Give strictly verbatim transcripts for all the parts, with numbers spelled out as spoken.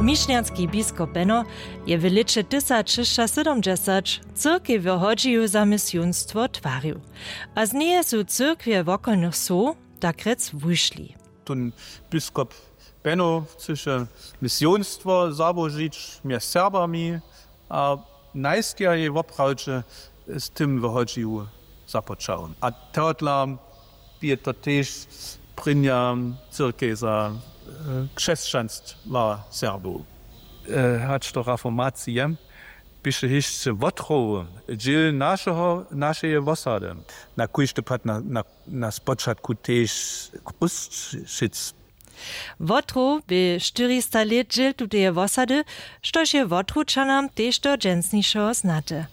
Mišnjanski biskop Beno je w lěće tysac šěsćasydomdźesać cyrkej w Hodźiju za misionstwo twarił, a z njeje su cyrkwje wokolnych wsow tak rjec wušli. Tón biskop Beno chcyše misionstwo załožić mjez Serbami a najskerjej woprawdźe z tym w Hodźiju započał. A tohodla je to tež prěnja cyrkej za křesćanstwa Serbow. Hač do reformacije běše hišće wotrow dźěl našeje wosady. Na kóždy pad na spočatku tež Chrósćic. Wotrow bě štyrista lět dźěl tuteje wosady, štož je Wotrowčanam tež do dźensnišeho znate.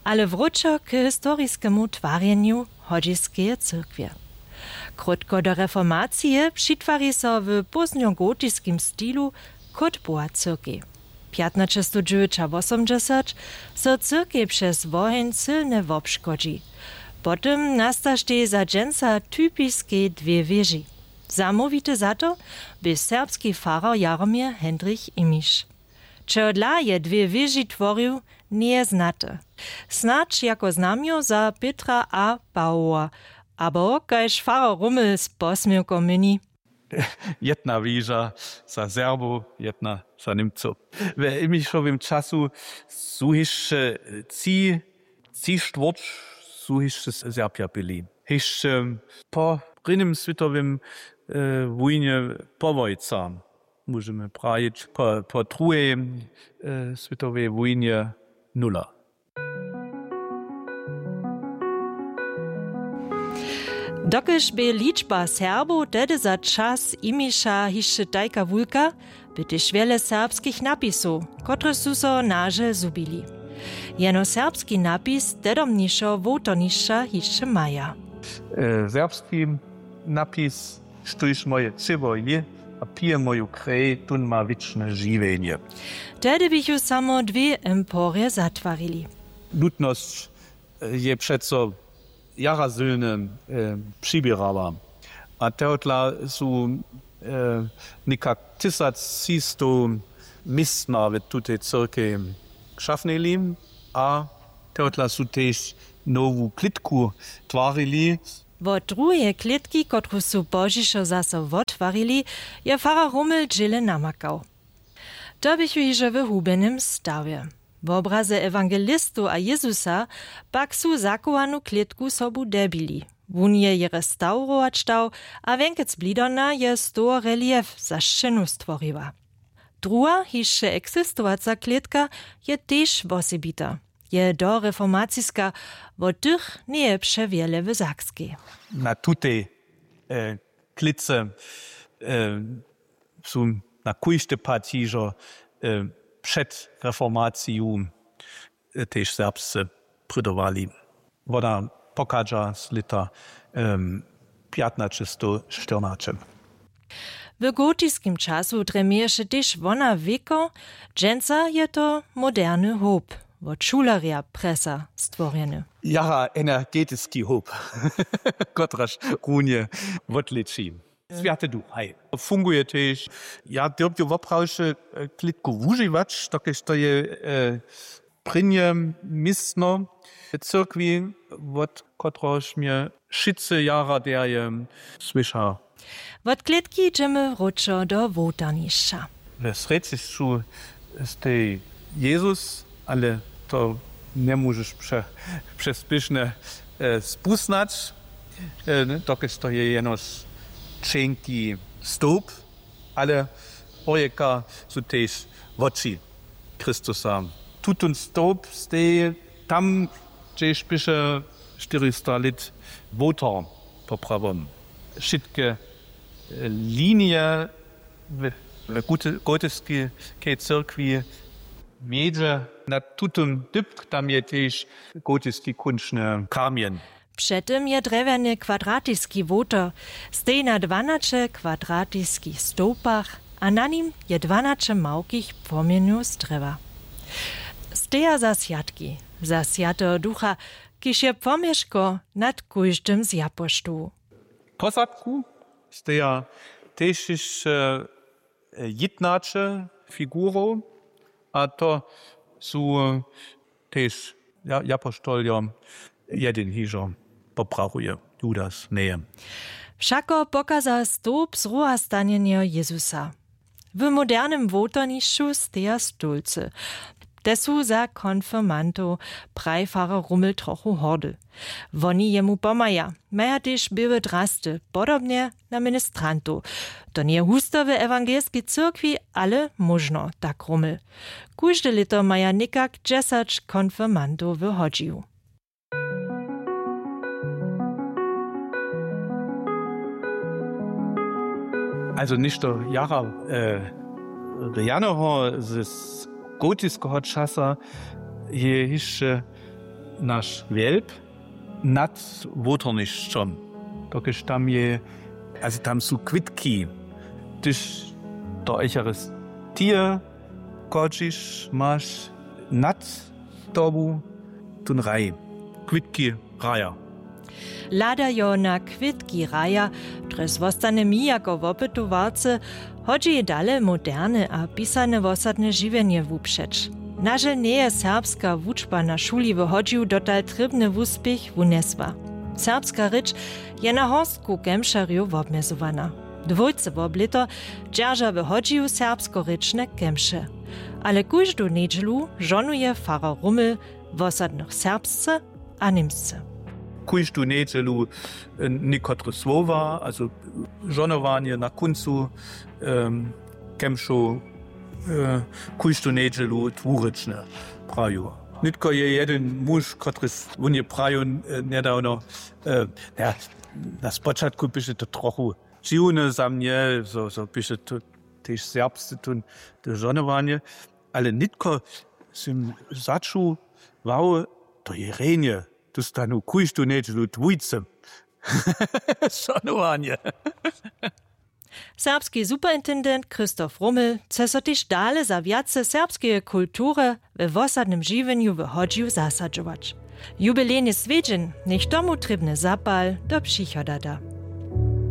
Ale wróćo k historiskemu twarjenju Hodźiskeje cyrkwje. Krótko do reformacije přitwari so w póznogotiskim stilu Kótbowa cyrkej. Pjatnaćestowdźewjećawosomdźesać so cyrkej přez woheń sylnje wobškodźi. Potom nastaštej za dźensa typiskej dwě wěži. Zamołwity za to bě serbski farar Jaromir Hendrich Imiš. Čehodla je dwě wěži tworił, njeje znate. Snadź jako znamjo za Pětra a Pawoła, abo kaž farar Rummel z posměwkom měni. Jedna wěža za Serbow, jedna za Němcow. W Imišowym času su hišće tři tři štwórć su hišće Serbja byli. Hišće po prěnim swětowym wójnje połojca, móžemy prajić po druhej swětowej wójnje nula. Dokelž bě ličba Serbow tehdy za čas Imiša hišće tajka wulka, by tež wjele serbskich napisow, kotrež su so nažel zhubili. Jeno serbski napis tedomnišeho wołtornišća hišće maja. Serbski napis, štóž moje třěło jě a pije moju krej, tón ma wěčne žiwjenje. Tehdy běchu samo dwě emporje zatwarili. Nutnosć je přeco jara sylnje přiběrała. A tohodla su někak tysaccistowmistna w tutej cyrkej šafnili a tohodla su tež nowu klětku twarili. Wot druheje klětki, kotruž su pozdźišo zaso wottwarili, je farar Rummel dźěle namakał. To běchu hižo w hubjenym stawje. Wobrazy ewangelistow a Jězusa pak su zachowanu klětku sobu debili. Wón je je restawrować dał a wjenkec blidona je z toho relief za sćěnu stworiła. Druha hišće eksistowaca klětka je tež wosebita. Je doreformaciska, wot tych njeje přewjele w Sakskej. Na tutej klětce su na kóždy pad hižo před reformaciju tež Serbsce prydowali. Wona pochadźa z lěta pjatnaćestowštyrnaće. W gotiskim času drje měješe tež wona wěko, dźensa je to moderny hołp, wot šulerja prjesa stworjeny. Jara energetiski hołp, kotraž runje wotlěči. Swjaty duch, haj. Funguje tež. Ja dyrbju woprawdźe klětku wužiwać, dokelž to je prěnje městno w cyrkwi, wot kotrehož mje wšitcy jara derje słyša. Wot klětki dźemy wróćo do wołtarnišća. We srjedźišću stej Jezus, ale to njemóžeš přespěšnje spusnać, dokelž to je jenož ćenki stołp, ale porjeka su tež woči Chrystusa. Tutón stołp stej tam, hdźež běše štyrista lět wołtar poprawom. Wšitke linije w gotiskej cyrkwi wjedźe na tutón dypk, tam je tež gotiski kónčny kamjeń. Před tym je drjewjany kwadratiski wołtar, stej na dwanaće kwadratiskich stołpach a na nim je dwanaće małkich płomjenjow z drjewa. Steja za swjatki, za swjateho ducha, kiž je płomješko nad kóždym z japoštołu. Posadku steja tež hišće jědnaće figurow, a to su tež japoštoljo, jedyn hižo poprachuje, Judas njeje. Wšako pokaza stołp zruhastanjenja jezusa. W modernym wołtornišću steja stólcy. Te su za konfirmantow, praj farar rummel trochu hordy. Woni jemu pomhaja, maja tež běłe drasty, podobnje na ministrantow. To njeje husto w ewangelskej cyrkwi, ale móžno, tak rummel. Kóžde lěto maja někak dźesać konfirmantow w hodźiju. Also něšto jara rjanoho z gotiskeho časa je hišće naš wjelp nad wołtornišćom, dokelž tam je, also tam su kwětki, hdyž do eucharistije chodźiš, maš nad tobu tón raj, kwětki raja. Hladajo na kwětki raja, drjez wostane mi jako wopytowarce, hodźi dale moderne a pisane wosadne žiwjenje wupřeć. Nažel njeje serbska wučba na šuli w hodźiju dotal trěbny wuspěch wunjesła. Serbska rěč je na horstku kemšerjow wobmjezowana. Dwójce wob lěto dźerža w hodźiju serbskorěčne kemše. Ale kóždu njedźelu žonuje farar rummel wosadnych serbsce a němsce. Kóždu njedźelu někotre słowa, also žonowanje na kóncu kemšow, kóždu njedźelu dwurěčne praju. Nětko je jedyn muž, kotryž wón je praju njedawno, na spočatku běše to trochu dźiwne za mnje, zo běše to tež serbsce to žonowanje, ale nětko sym začuł, wow, to je rjenje, tu stanu kóždu njedźelu dwójce. Žonowanje. Serbski superintendent Christoph Rummel chce so tež dale za wjace serbskeje kultury we wosadnym žiwjenju w hodźiju zasadźować. Jubilejny swjedźeń njech tomu trěbny zapal do přichoda da.